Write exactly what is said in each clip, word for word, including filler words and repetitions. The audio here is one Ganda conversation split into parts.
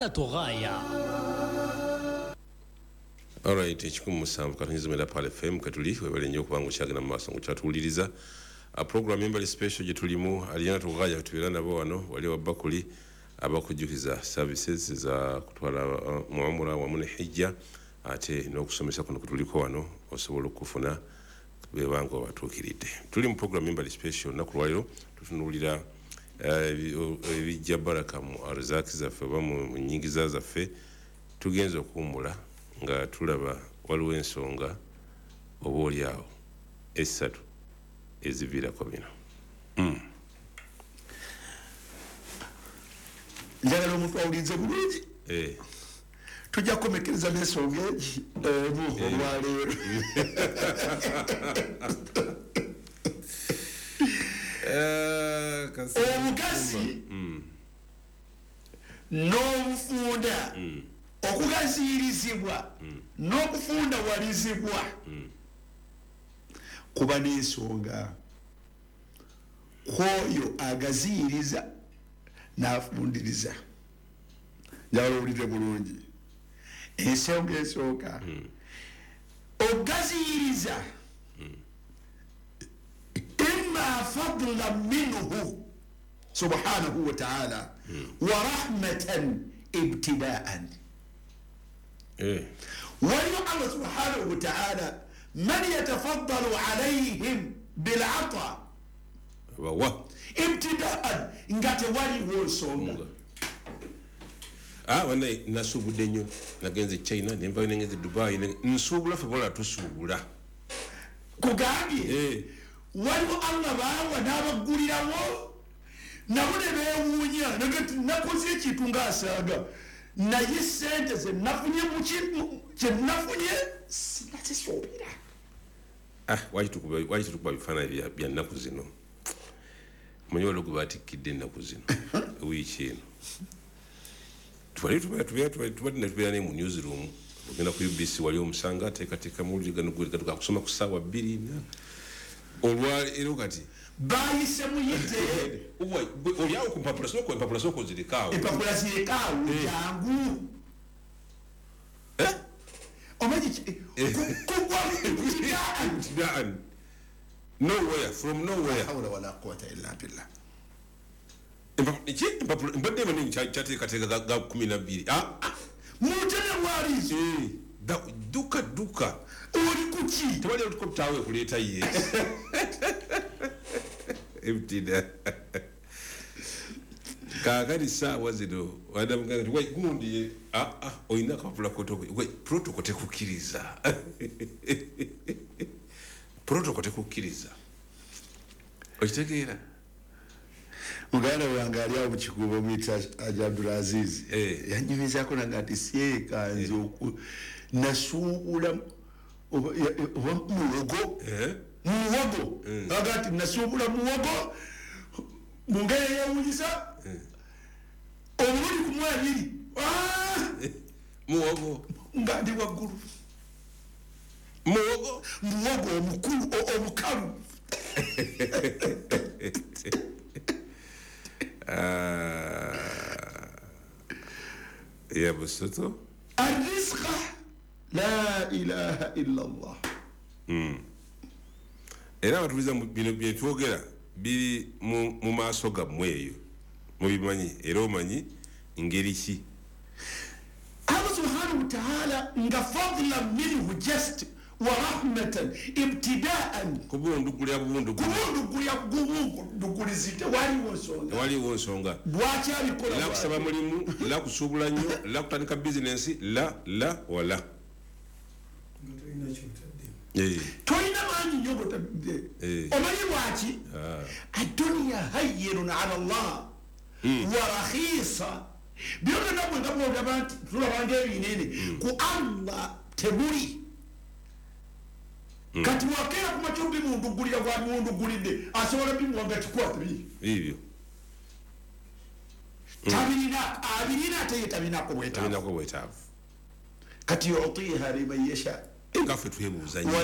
غاية. Alright, ekikumi musanvu katonyiza mwenda Pearl F M katuli webale nnyo okubanga okyagenda mu maaso ng'okyatuwuliriza. A program embali special gye tulimu alina tughaya tubeera nabo wano wali wa Bakuli abakujjukiza services za kutwala uh, muamura wamu ne hijja ate n'okusomesa kuno kutuliko wano osobola okufuna bebanga obatuukiridde. Tuli mu program embali special olunaku lwaleero tutunuulira ebijja baraka mu arzaki zaffe oba mu nnyingiza zaffe. Tugenze okuwummula nga tulaba waliwo ensonga oba oli awo essatu eziviirako bino. Njagala omuntu awulirize bulungi. Tujja kukomekereza n'ensonga egi emu olwaleero. Omugazi n'obufunda, okugaziyirizibwa n'okufundawalizibwa kuba n'ensonga. Kwoyo agaziyiriza n'afundiriza. Njagala owulire bulungi. Ensonga esooka, ogaziyiriza imma fadlan minhu subhanahu wa ta'ala wa rahmatan ibtida'an. Waliwo Allah subhanahu wa ta'ala man yatafaddalu alayhim bil'ata ibtida'an, nga tewaliwo nsonga. Ah, wannaye nasuubudde nnyo, nagenze China nenvayo nengenze Dubai, nsuubula ffe bola tusuubula. Kugambye waliwo Allah baawa n'abaggulirawo nabo ne beewuunya nagati nakoze ekintu ng'asaaga naye sente ze nafunye kye nafunye sinakisuubira. Ah, waki tukuba bifaananyi bya nnaku zino? Omanyi waliwo gwe baatikkidde ennaku zino wiiki eno. Twali tubadde tubeera naye mu newsroom, ogenda ku U B C wali omusanga ateekateeka mawulire gano gatuka kusoma ku ssaawa bbiri olwaleero kati bayise muyite oli awo ku mpapula sooka empapula sooka ozirekaawo. Empapula zirekaawo jangu. Omanyi kugwa ibtida'an nowhere, from nowhere. La hawla wala quwwata illa billah. Empapula mbadde manyi kyateekateeka ga kumi na bbiri. Mutene walizo dduka dduka oli kuki tewali helicopter kuleeta ye ebitida. Kaakati ssaawa zino gundi olina akapapula protocol tekukkiriza. Protocol tekukkiriza. Okitegeera? Muganda wange ali awo mu Kikuubo muyita Haji Abdulaziz yanyumizaako naga nti seekanze nasuubula oba muwogo muwogo aga nti nasuubula muwogo mu ngeri eyewuunyisa omulundi gumu abiri muwogo nga ndi waggulu muwogo muwogo omukulu omukalu. Ya busoto arrizqa la ilaha illa Allah. Era abatuliza bino bye twogera biri mu maaso gammwe eyo mubimanyi era omanyi ngeri ki. Allah subhanahu wa ta'ala nga fadlan minhu just wa rahmatan ibtida'an, kubundugulya kubundugulya kubundugulizi tewaliwo nsonga tewaliwo nsonga. Lwaki abikola? La kusaba mulimu, la kusuubula nnyo, la kutandika bizinensi, la la wala tolina maanyi nnyo gotadde. Omanyi lwaki? Adduniya hayyinun ala Allah wa rakhisa. Byonna bwe nga bwogamba nti tulabanga ebinene ku Allah temuli. Kati wakeera ku makya obimundugulira gwabimundugulidde asobola bimuwanga kikwata bi ebyo tabirina abirina ate ye tabinako bwetaavu bwetaavu. Kati yutiha liman yasha, nga ffe twebuuza nnyo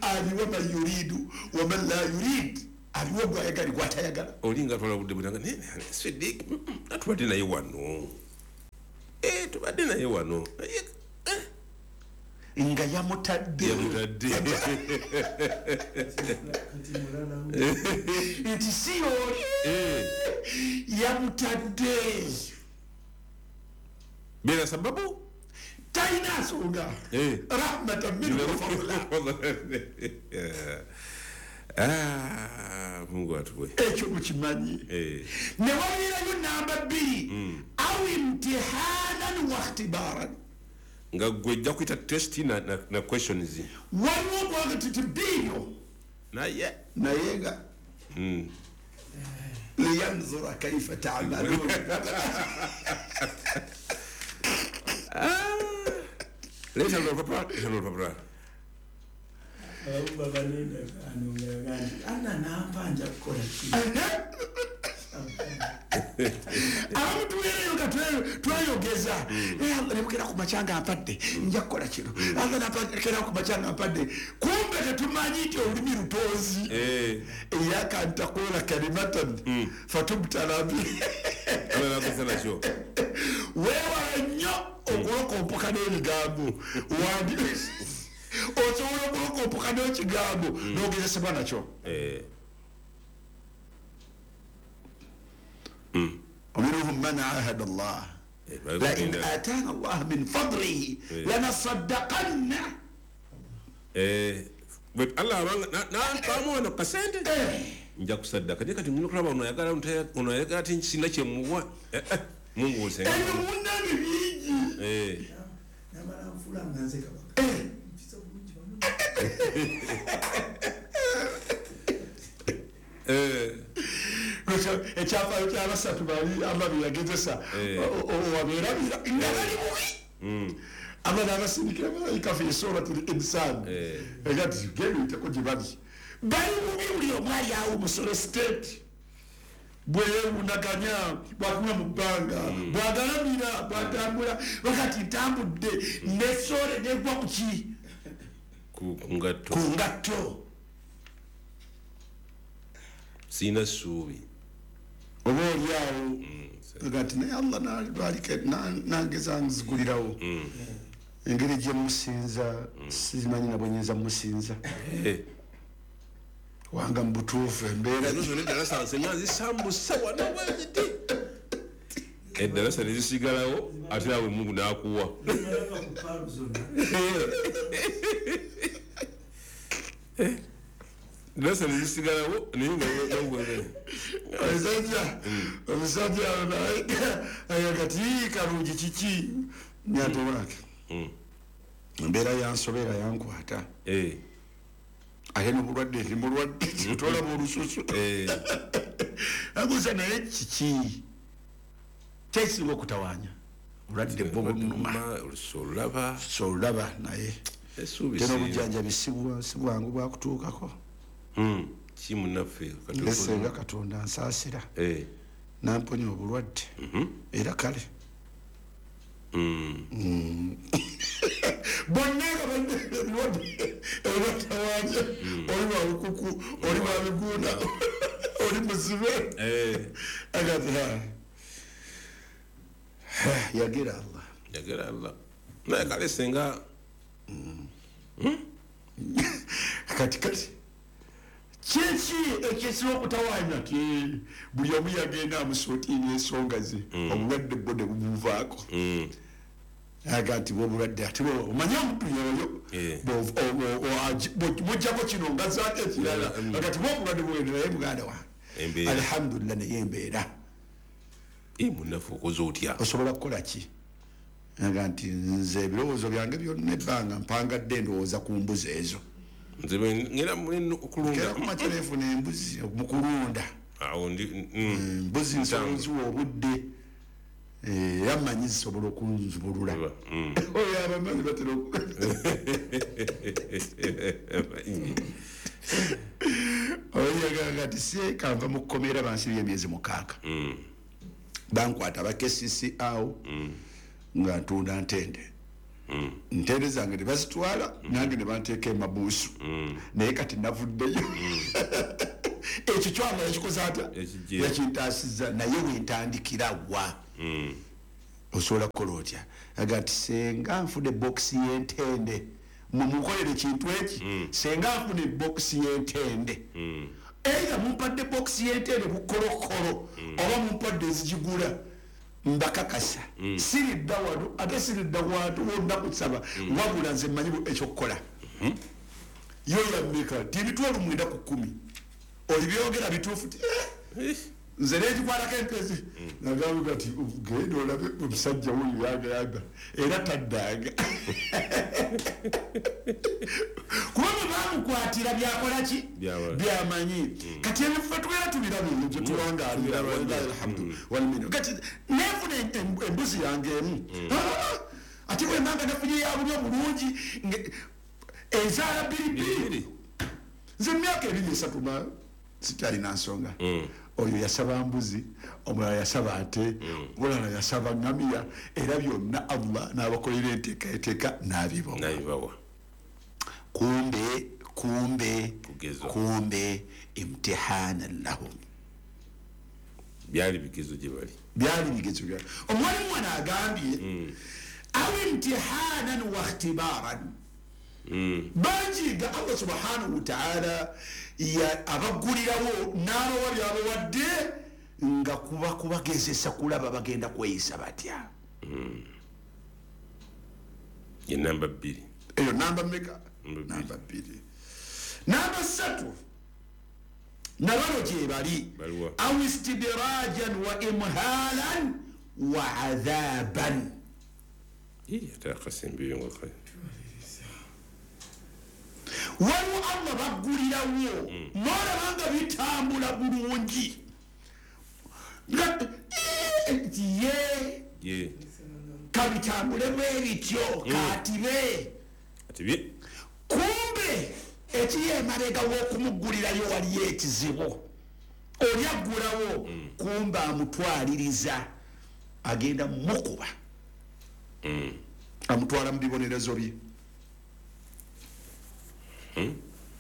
aliwa man yuridu wa man la yurid, aliwa gwayagala gwatayagala. Oli nga twala budde butanga Sidiq atubadde naye wano. Tubadde naye wano nga yamutadde yamutadde nti si oli yamutadde bila sababu talina nsonga rahmatan minhu wa fadla. Ah, Mungu atuwe ekyo mukimanyi. Ne wabeerayo namba bbiri au imtihanan wa ikhtibaran, nga gwe ojja kuyita test na, na, na questions. Waliwo okwaga titi biyo naye naye nga mm. liyanzura kaifa ta'malun. Leta olupapula, leta olupapula. Baba nenda anongera ana nampa nja kukola ki. Abamu tubeereyo nga tweyogeza Allah nebukera ku makyanga ampadde nja kukola kino, Allah napakera ku makyanga ampadde, kumbe tetumanyi nti olulimi lutonzi. Iyaka an taqula kalimatan fatubtala bi. Weewala nnyo okulokompoka n'ebigambo, wandi osobola okulokompoka n'ekigambo n'ogezesebwa nakyo. ومنهم من عاهد الله لئن آتانا الله من فضله لنصدقن. Allah nampamu wano kasente nja kusaddaka naye kati ngenda okulaba ono ayagala ono ayagala ate sirina kye muwa. Mungu osenga ebyo munnange bingi. Namala nfula nga nze kabaka mpisa bulungi wano. Ekyafaayo kyabasatu bali amabi yagezesa wabeerabira nga bali bubi, aba n'abasindikira malayika fi surati l-insan era ti genda oyiteko gye bali bali bubi, buli omu ali awo musolo state bwe yeewunaganya bw'atunula mu bbanga bw'agalamira bw'atambula wakati ntambudde nesoole negwa ku ki ku ngatto ku ngatto sirina ssuubi oba oli awo gati naye Allah nangeza nzigulirawo engeri gye musinza simanyi na bwe nyinza musinza wanga mu butuufu embeera zonna eddalasa nsenga zisambusa wano bweziti eddalasa ne zisigalawo ate awe Mungu n'akuwa. Eddalasa ne zisigalawo naye nga omusajja omusajja kati kalungi kiki nyate wange embeera yansobera yankwata ate n'obulwadde ndi mulwadde tolaba olususu abuuza naye kiki kyekisinga okutawaanya obulwadde bwo bunuma olusu olulaba olulaba naye tena obujjanjabi si bwangu bwakutuukako. Ki munnaffe nsenga Katonda nsaasira namponya obulwadde era kale bonna nga balina ebirwadde ebibatawaanya, oli wa lukuku, oli wa miguuna, oli muzibe agati yagera Allah yagera Allah naye kale senga kati kati kiki ekisinga okutawaanya ti buli omu yagenda amusootiina ensonga ze obulwadde bwo ne bumuvaako aga nti bwobulwadde ate omanye omuntu yoyo mujjako kino nga zaako ekirala agati bwobulwadde bwogenda naye muganda wange alhamdulillah naye embeera munnaffe okoze otya osobola kukola ki aga nti nze ebirowoozo byange byonna ebbanga mpangadde endowooza ku mbuzi ezo nze ngera mulina okulunda kumakya nefuna embuzi mu kulunda awo ndi mbuzi nsobola nziwa obudde era mmanyi zisobola okunzubulula oyo abamanyi batera oyo kati sekanva mu kkomera bansibye emyezi mukaaga bankwata aba K C C awo nga ntunda ntende ntende zange ne bazitwala nange ne banteeka emabuusu naye kati navuddeyo ekyo kyama yakikoze atya yakintaasizza naye wentandikira wa Osobola kukola otya? Aga nti senga nfune bokisi y'entende, mumukolere kintu eki, senga nfune bokisi y'entende, either mumpadde bokisi y'entende bukolokolo oba mumpadde ezigigula, mbakakasa siridda wano ate siridda wantu wonna kusaba, wabula nze mmanyi ekyokukola. Yo yammeka ti emitwalo mwenda ku kkumi olibyogera bituufu ti nze negikwatako empezi. Nagamba ti genda olabe omusajja wuyo yagamba era taddanga, kuba bwe bamukwatira byakola ki byamanyi. Kati ebife tubeera tubiraba ebyo tuwangaalira, alhamdu walminna. Kati nefuna embuzi yange emu, ate bwe mbanga nefunye ya bulyo bulungi ezaala bbiri bbiri, nze emyaka ebiri esatu ma sikyalina nsonga. Oyo yasaba mbuzi, omulala yasaba ate, omulala yasaba ngamiya, era byonna Allah n'abakolera enteekateeka n'abibawa. Kumbe kumbe kumbe imtihana lahum, byali bigezo gye bali, byali bigezo byali. Omwalimu wano agambye aw imtihanan wa ikhtibaran, bangi nga Allah subhanahu wa ta'ala abaggulirawo n'abawa byabawadde nga kuba kubagezesa kulaba bagenda kweyisa batya. Ye namba bbiri eyo, namba mmeka? Namba bbiri. Namba ssatu nabano gye bali aw istidirajan wa imhalan wa adhaban. Ate akasembeyo nga kale waliwo Allah baggulirawo n'olaba nga bitambula bulungi, ye kabitambule bwe bityo katibe. Kumbe ekiri emabega w'okumuggulirayo waliyo ekizibu, oli aggulawo kumbe amutwaliriza agenda mukuba, amutwala mu bibonerezo bye,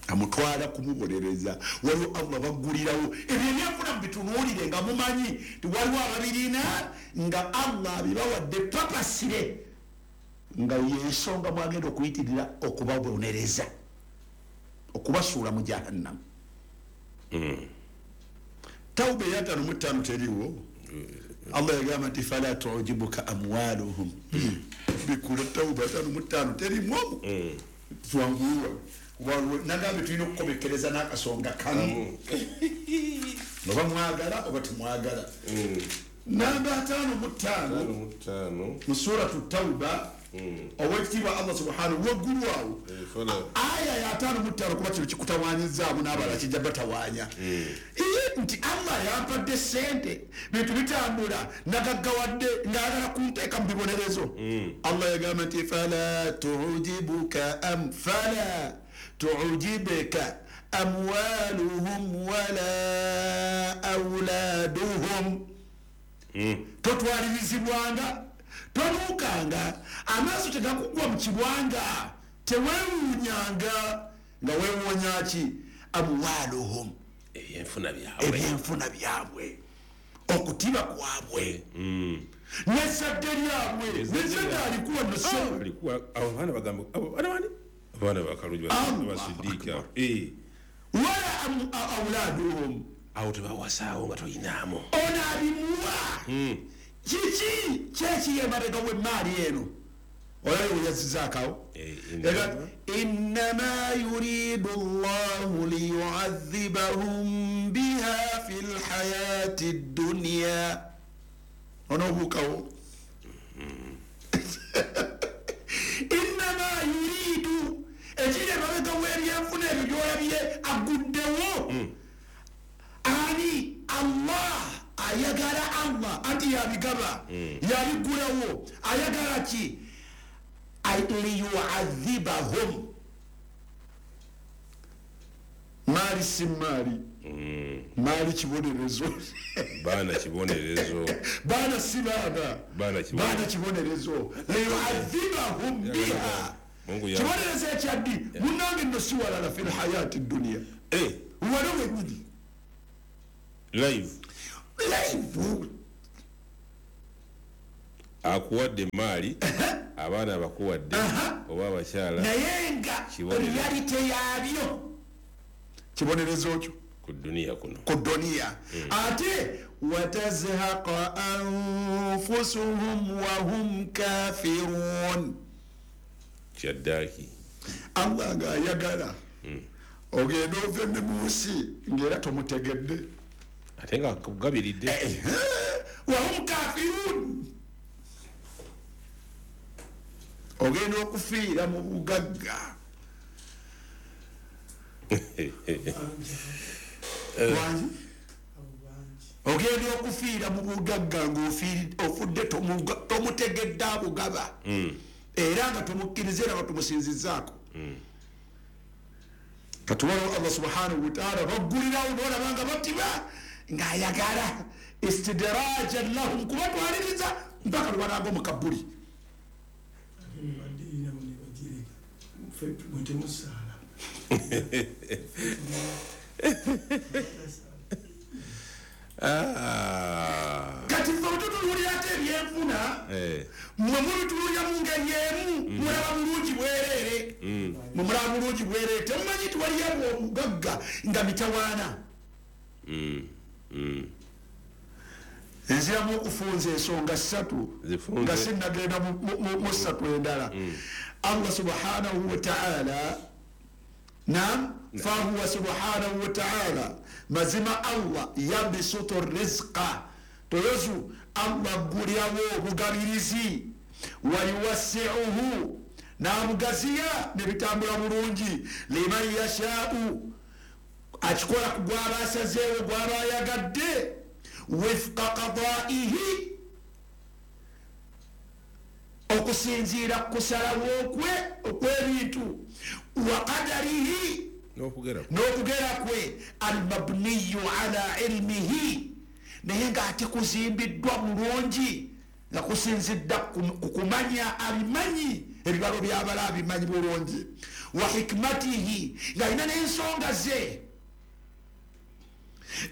amutwala kumubonereza. Waliwo Allah baggulirawo ebyo ebyenfuna mubitunuulire nga mumanyi nti waliwo ababirina nga Allah abibawadde papasire, nga yensonga mwagenda okuyitirira okubabonereza, okubasuula mu jahannamu. Tawuba eyataano mu ttaano teriiwo. Allah yagamba nti fala tujibuka amwaluhum, bikula tawuba ataano mu ttaano teriimu omwo twanguyiwa. Nagambye tulina okukomekereza n'akasonga kamu, oba mwagala oba temwagala. Namba ataano mu ttaano mu suratu Tawuba, owekitiibwa Allah subhanahu waggulu awo aya ya ataano mu ttaano, kuba kino kikutawanyizaamu n'abalala kijja batawaanya nti Allah yampadde ssente, bintu bitambula, nagaggawadde, ng'ayagala kunteeka mu bibonerezo. Allah yagamba nti fala tujibuka am fala tujibuka amwaluhum wala auladuhum, totwalirizibwanga, tonuukanga, amaaso tegakugwa mu kibwanga, teweewuunyanga. Nga weewuunya ki? Amwaluhum, ebyenfuna byabwe, ebyenfuna byabwe, okutiba kwabwe, n'ezzadde lyabwe. N'ezzadde alikuwa noso alikuwa abaana bagamba abaana bani abaana bakalungi basidiika wala auladuhum, awo tebawasaawo nga toyinaamu ono abimuwa kiki kyekiri emabega w'emmaali eno. Oyo weyazizaakawo innama yuridu llahu liyuadhibahum biha fi lhayati dduniya. Onoobuukawo innama yuridu, ekiri emabega w'ebyenfuna ebyo byolabye aguddewo ani? Allah ayagala, Allah anti yabigaba, yabigulawo, ayagala ki? Liyuadhibahum. Maali si maali, maali kibonerezo, baana kibonerezo, baana si baana, baana kibonerezo. Liyuadhibahum biha, kibonerezo ekyaddi munnange nno si walala fi lhayati dduniya, wano wenyini live live. Akuwadde maali, abaana bakuwadde, oba abakyala. Naye nga reality yaabyo kibonerezo kyo ku duniya kuno. Ku duniya. Ate watazhaqa anfusuhum wa hum kafirun. Kyaddaaki. Allah ng'ayagala ogenda ove ne mu nsi ng'era tomutegedde. Ate nga akugabiridde. Wa hum kafirun. Ogenda okufiira mu bugagga. Ogenda okufiira mu bugagga ng'ofudde tomutegedde abugaba. Era nga tomukkiriza era nga tumusinzizzaako. Kati waliwo Allah subhanahu wa ta'ala baggulirawo n'olaba nga batiba ng'ayagala istidrajan lahum kubatwaliriza mpaka lwe banaagwa mu kabbuli. Kati ffe bwe ate ebyenfuna mmwe mubitunuulira mu ngeri emu mulaba bulungi bwereere mwe mulaba bulungi bwereere temumanyi nti waliyo obugagga nga mitawaana. Nziramu okufunza ensonga ssatu nga sinnagenda mu ssatu endala. Allah subhanahu wa ta'ala nam fahuwa subhanahu wa ta'ala mazima Allah yabisutu rizqa toyozu Allah aggulirawo obugabirizi wa yuwassi'uhu n'abugaziya ne bitambula bulungi liman yasha'u akikola ku gw'aba asazeewo gw'aba ayagadde wifqa qada'ihi okusinziira ku kusalawo kwe okw'ebintu wa qadarihi n'okugera kwe almabniyu ala ilmihi naye ng'ate kuzimbiddwa bulungi nga kusinzidda ku kumanya abimanyi ebibalo by'abala abimanyi bulungi wa hikmatihi ng'alina n'ensonga ze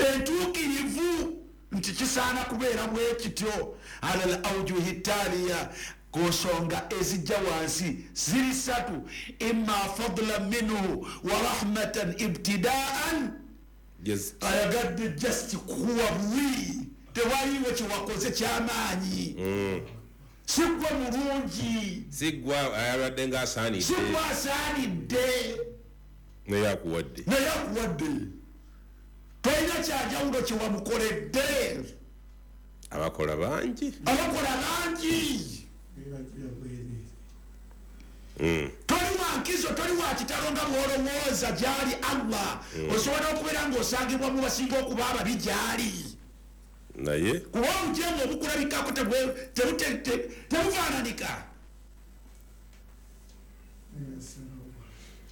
entuukirivu nti kisaana kubeera bwe kityo ala al awjuhi taliya ku nsonga ezijja wansi ziri ssatu imma fadlan minhu wa rahmatan ibtidaan ayagadde just kuwa buwi tewaliwo kyewakoze kyamaanyi si ggwe mulungi si ggwe ayabadde ng'asaanidde si ggwe asaanidde naye akuwadde naye akuwadde tolina kyanjawulo kyewamukoledde abakola bangi abakola bangi toli wa nkizo toli wa kitalo nga bw'olowooza gy'ali Allah osobola okubeera ng'osangibwa mu basinga okuba ababi gy'ali naye kuba obujeemu obukulabikako tebufaananika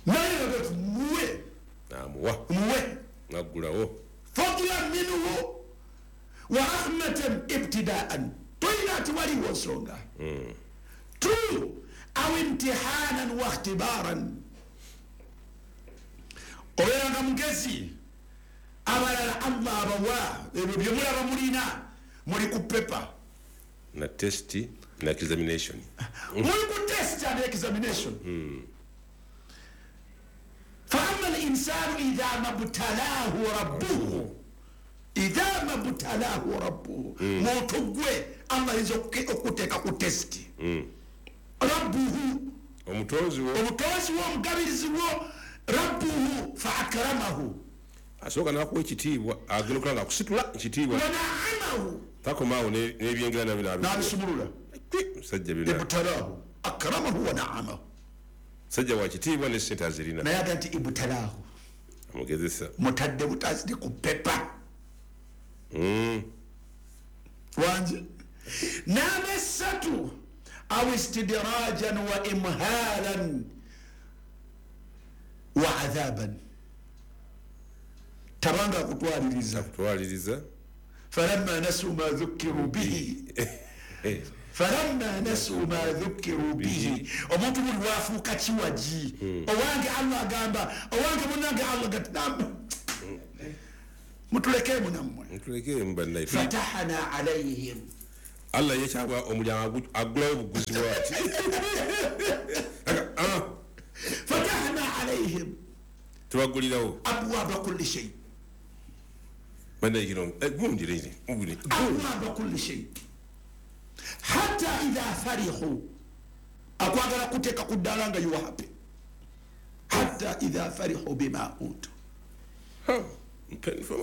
naye muwe namuwa muwe naggulawo fadlan minhu wa rahmatan ibtidaan tolina ati waliwo nsonga. Two, aw imtihanan wa ikhtibaran obeera nga mugezi abalala Allah abawa ebyo bye mulaba mulina muli ku paper na test na examination muli ku test and examination. Fa amma al-insanu idha mabtalahu rabbuhu idha mabtalahu rabbuhu muntu gwe Allah ayinza okuteeka ku test rabbuhu omutonzi wo omutonzi wo omugabirizi wo rabbuhu fa akramahu asooka n'akuwa ekitiibwa agenda okulaba nga akusitula ekitiibwa wanaamahu takomaawo n'ebyengera nabyo n'abisumulula musajja bina ibtalahu akramahu wa naamahu musajja wa kitiibwa ne ssente azirina naye aga nti ibtalahu amugezesa mutadde butazidi ku pepa wangi namba esatu aw istidrajan wa imhalan wa adhaban tabanga kutwaliriza kutwaliriza falamma nasu ma dhukiru bihi falamma nasu ma dhukiru bihi omuntu buli wafuuka kiwagi owange Allah agamba owange munnange Allah gati mutulekemu nammwe mutulekemu bannaye fatahana alayhim Allah yekyagwa omulyango agulawo obuguzi bwati. Fatahna alayhim, tubagulirawo abwaba kulli shay. Banayiro gundi riri gundi abwaba kulli shay hatta idha farihu, akwagala kuteeka ku ddala nga you are happy. Hatta idha farihu bima utu,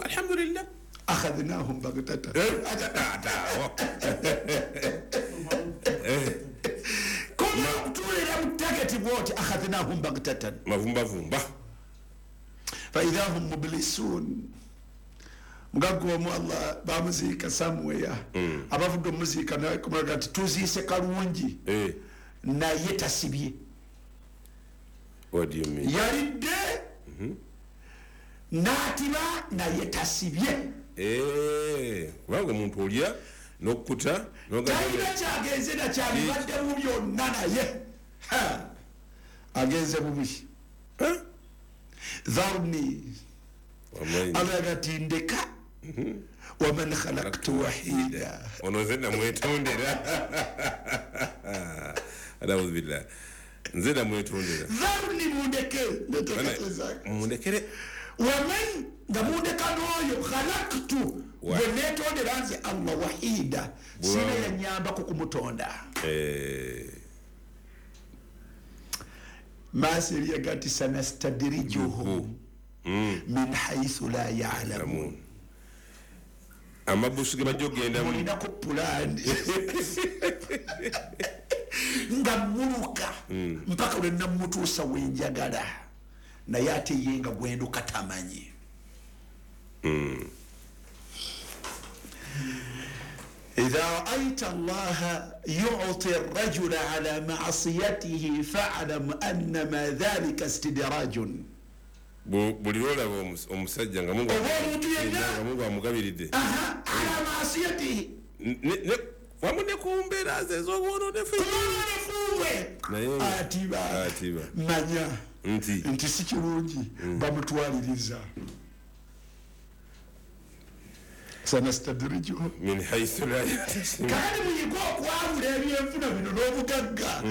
alhamdulillah akhadnahum baghtatan. Kuma kutulira mutakati wote akhadnahum baghtatan, mavumba vumba fa idha hum mublisun. Mugaggo mu Allah bamuziika somewhere, abavudde omuziika naye kumulaga nti tuziise kalungi naye tasibye. What do you mean? Yalidde n'atiba naye tasibye. Kubanga omuntu olya n'okkuta talina kyagenze nakyabibadde mu byonna, naye agenze bubi. Dharni alaga ti ndeka waman khalaqtu wahida, ono nze namwetondera. A'udhu billah, nze namwetondera. Dharni mundeke mundekere waman nga mundeka n'oyo khalaqtu gwe netondera nze Allah wahida, sina yanyambako kumutonda. Maasi eriyaga nti sanastadirijuhum min haythu la ya'lamun. Amabusu ge bajja okugenda mulinako pulaani nga muluka mpaka lwe namutuusa wenjagala, naye ate ye nga gwenduka tamanyi. إذا رأيت الله يعطي الرجل على معصيته فاعلم أن ما ذلك استدراج. Buli lwolaba omusajja nga Mungu amugabiridde ala maasiyatihi, wamu ne ku mbeera ze ez'obwononefu atiba, manya nti si kirungi bamutwaliriza. Sanastadrijuhum min haythu la yahtasib. Kandi muyige okwawula ebyenfuna bino n'obugagga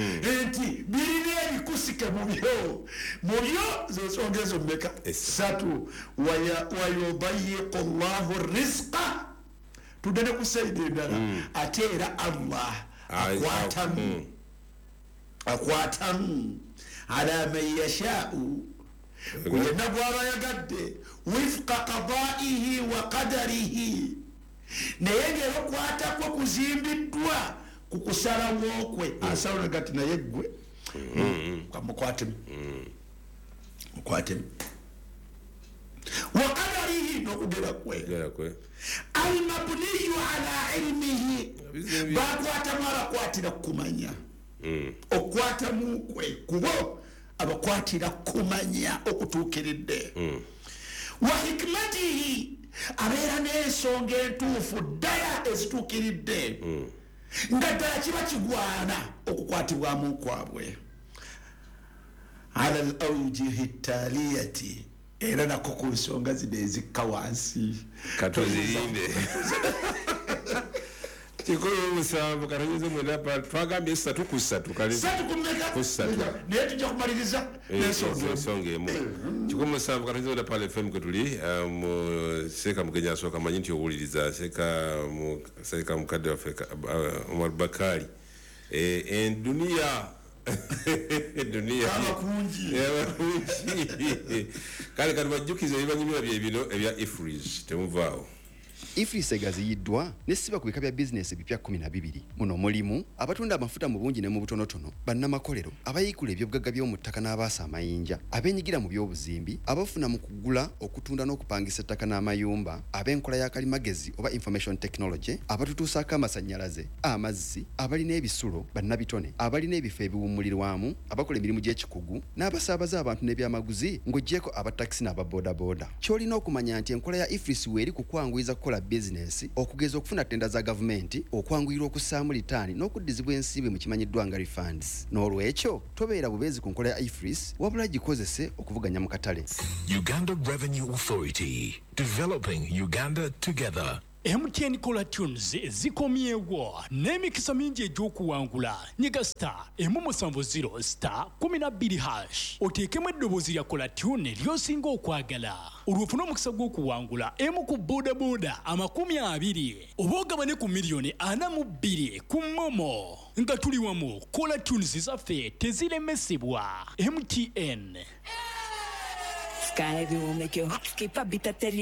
nti birina ebikusike mu byo mu byo zensonga ezo mmeka ssatu. Wayudayiqu llahu rizqa, tudde ne ku sayidi endala, ate era Allah akwatamu akwatamu ala man yashaau, yenna gw'aba yagadde wifqa qadaihi wa qadarihi, naye ng'era okwata kwe kuzimbiddwa ku kusalawo kwe. Asalawo gati naye ggwe mukwatemu mukwatemu wa qadarihi, n'okugera kwe almabniyu ala ilmihi, bakwatamu abakwatira kumanya, okwatamu kwe kubo abakwatira kumanya okutuukiridde, wa hikmatihi, abeera n'ensonga entuufu ddala ezituukiridde, nga ddala kiba kigwana okukwatibwamu kwabwe. Ala al awjihi ttaliyati, era nako ku nsonga zino ezikka wansi katuzirinde. Kikumi musanvu katonyeze mwenda pa twagambye ssatu ku ssatu ku ssatu, naye tujja kumaliriza n'ensonga emu. Kikumi musanvu katonyeze mwenda pale F M kwe tuli mu Seeka Mugenyi asooka manyi nti owuliriza Seeka Seeka mukadde waffe Omar Bakari. Enduniya duniya abakungi abakungi kale kati bajjukize ebibanyumira bye bino ebya Ifris temuvaawo. Ifris egaziyiddwa nesiba ku bika bya bizinesi ebipya kkumi na bibiri. Muno mulimu abatunda amafuta mu bungi ne mu butonotono, bannamakolero, abayiikula ebyobugagga by'omu ttaka n'abaasa amayinja, abeenyigira mu by'obuzimbi, abafuna mu kugula, okutunda n'okupangisa ettaka n'amayumba, ab'enkola ya kalimagezi oba information technology, abatutuusaako amasannyalaze, amazzi, abalina ebisulo, bannabitone, abalina ebifo ebiwummulirwamu, abakola emirimu gy'ekikugu, n'abasaabaza abantu n'ebyamaguzi ng'oggyeko abatakisi n'ababoodabooda. Ky'olina okumanya nti enkola ya Ifris weeri ku kwanguyiza kukola bizinesi, okugeza okufuna tenda za gavumenti, okwanguyirwa okussaamu litaani n'okuddizibwa ensimbi mu kimanyiddwa nga refunds. N'olwekyo tobeera bubeezi ku nkola ya Ifris, wabula gikozese okuvuganya mu katale. Uganda Revenue Authority, developing Uganda together. M T N Caller Tunes zikomyewo n'emikisa mingi egy'okuwangula. Nyiga star emu musanvu zero star kumi na bbiri hash oteekemu eddoboozi lya Caller Tune ly'osinga okwagala, olwo ofune omukisa gw'okuwangula emu ku bodaboda amakumi abiri oba ogabane ku miliyoni ana mu bbiri ku MoMo. Nga tuli wamu, Caller Tunes zaffe teziremesebwa. M T N. Sky will make your heart skip a bit at